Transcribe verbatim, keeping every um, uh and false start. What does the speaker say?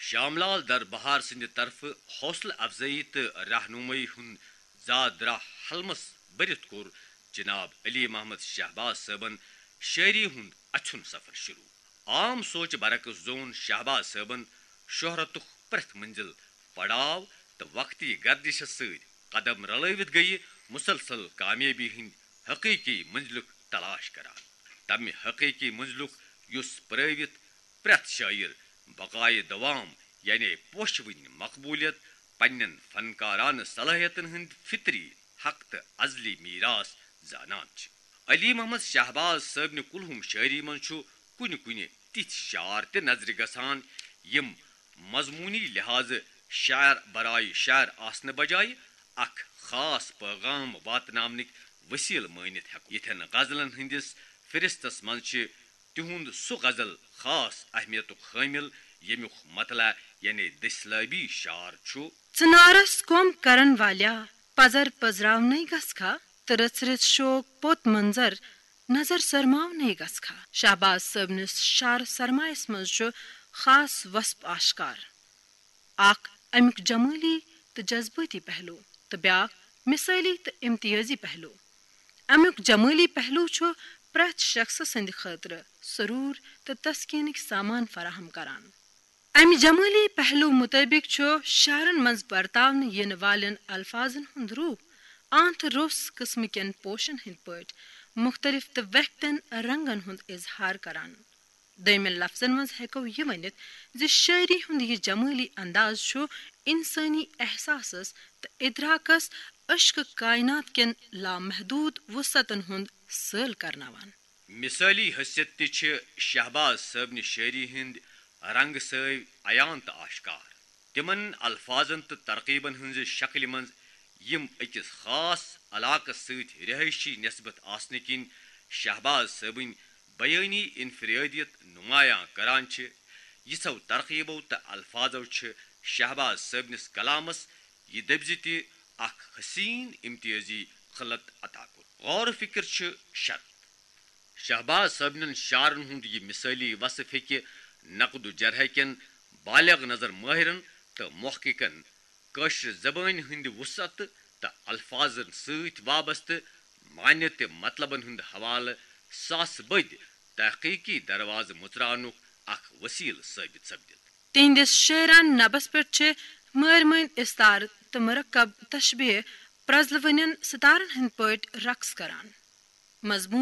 شاملال در بہار سٕنٛدِ طرفہٕ حوصلہٕ افزٲیی تہٕ رہنمٲیی ہُنٛد زاد راہ حلمس بٔرِتھ کوٚر جناب علی محمد شہباز صٲبن شٲعری ہُنٛد اَژھُن سفر شروع۔ عام سوچہِ برعکس زون شہباز صٲبن شہرتُک پرٛٮ۪تھ منزل، پڑاو تہٕ وقتی گردشس سۭتۍ قدم رلٲوِتھ گٔیہِ مسلسل کامیٲبی ہٕنٛدۍ حقیقی منزلُک تلاش کران۔ تمہِ حقیقی منزلُک یُس پرٲوِتھ پرٛٮ۪تھ شٲعر بقایہِ دوام، یعنی پوشوٕنۍ مقبولیت، پننٮ۪ن فنکارانہٕ صلٲحیتن ہٕنٛدۍ فطری حق تہٕ ازلی میراث زانان چھِ۔ علی محمد شہباز صٲبنہِ کُلہُم شٲعری منٛز چھُ کُنہِ کُنہِ تِتھۍ شعر تہِ نظرِ گژھان، یِم مضموٗنی لحاظہٕ شعر برایہِ شعر آسنہٕ بجایہِ اکھ خاص پیغام واتناونٕکۍ وسیلہٕ مٲنِتھ ہٮ۪کو۔ یِتھٮ۪ن غزلن ہٕنٛدِس فہرستس منٛز چھِ تِہُنٛد سُہ غزل خاص اہمیتُک حٲمل، ییٚمیُک مطلع یعنی دٔسلٲبی شعر چھُ۔ ژٕنارس کوٚم کرن والیا، پزر پزراونَے گژھکھا، تہٕ رٕژ رٕژ شوق پوٚت منظر، نظر سرماونَے گژھکھا۔ شہباز صٲبنِس شعر سرمایس منٛز چھُ خاص وصف آشکار۔ اکھ امیُک جمٲلی تہٕ جذبٲتی پہلو، تہٕ بیاکھ مثٲلی تہٕ امتیازی پہلو۔ امیُک جمٲلی پہلو چھُ پرٛٮ۪تھ شخصہٕ سٕنٛدِ خٲطرٕ سرور تہٕ تسکینٕکۍ سامان فراہم کران۔ امہِ جمٲلی پہلو مطٲبق چھُ شعرن منٛز برتاونہٕ یِنہٕ والٮ۪ن الفاظن ہُنٛد روح آنتھ روٚس قٕسمہٕ کٮ۪ن پوشن ہٕنٛدۍ پٲٹھۍ مختلف تہٕ ویکھتٮ۪ن رنگن ہُنٛد اظہار کران۔ دوٚیمٮ۪ن لفظن منٛز ہٮ۪کو یہِ ؤنِتھ زِ شٲعری ہُنٛد یہِ جمٲلی انداز چھُ انسٲنی احساسس تہٕ ادراکس عشق کائنات کٮ۪ن لامحدود وسعتن ہُنٛد سٲل کرناوان۔ مثٲلی حیثیت تہِ چھِ شہباز صٲبنہِ شٲعری ہٕنٛدۍ رنگ سٲوۍ عیان تہٕ آشکار۔ تِمن الفاظن تہٕ ترکیبن ہٕنٛزِ شکلہِ منٛز، یِم أکِس خاص علاقس سۭتۍ رہٲیشی نسبت آسنہٕ کِنۍ شہباز صٲبٕنۍ بیٲنی انفرادیت نمایاں کران چھِ، یِژھو ترکیبو تہٕ الفاظو چھِ شہباز صٲبنِس کلامس یہِ دٔپۍ زِ تہِ اکھ حسین امتیازی خلط عطا کوٚر۔ غور و فکر چھِ شرط۔ شہباز صٲبنٮ۪ن شعرن ہُنٛد یہِ مثٲلی وصف ہیٚکہِ نقد و جرح کٮ۪ن بالغ نظر مٲہرن تہٕ محققن کٲشرِ زبٲنۍ ہٕنٛدِ وسعت تہٕ الفاظن سۭتۍ وابستہٕ معنی تہٕ مطلبن ہُنٛد حوالہٕ ساسہٕ بٔدۍ تحقیقی دروازٕ مُژراونُک اکھ وسیلہٕ ثٲبت سپدِتھ۔ تِہنٛدِس شعرانہٕ نبس پٮ۪ٹھ چھِ مٲرۍ مٔنٛدۍ استعارٕ تہٕ مرکب تشبیہ پرزلوٕنٮ۪ن ستارن ہٕنٛدۍ پٲٹھۍ رقص کران۔ مضمون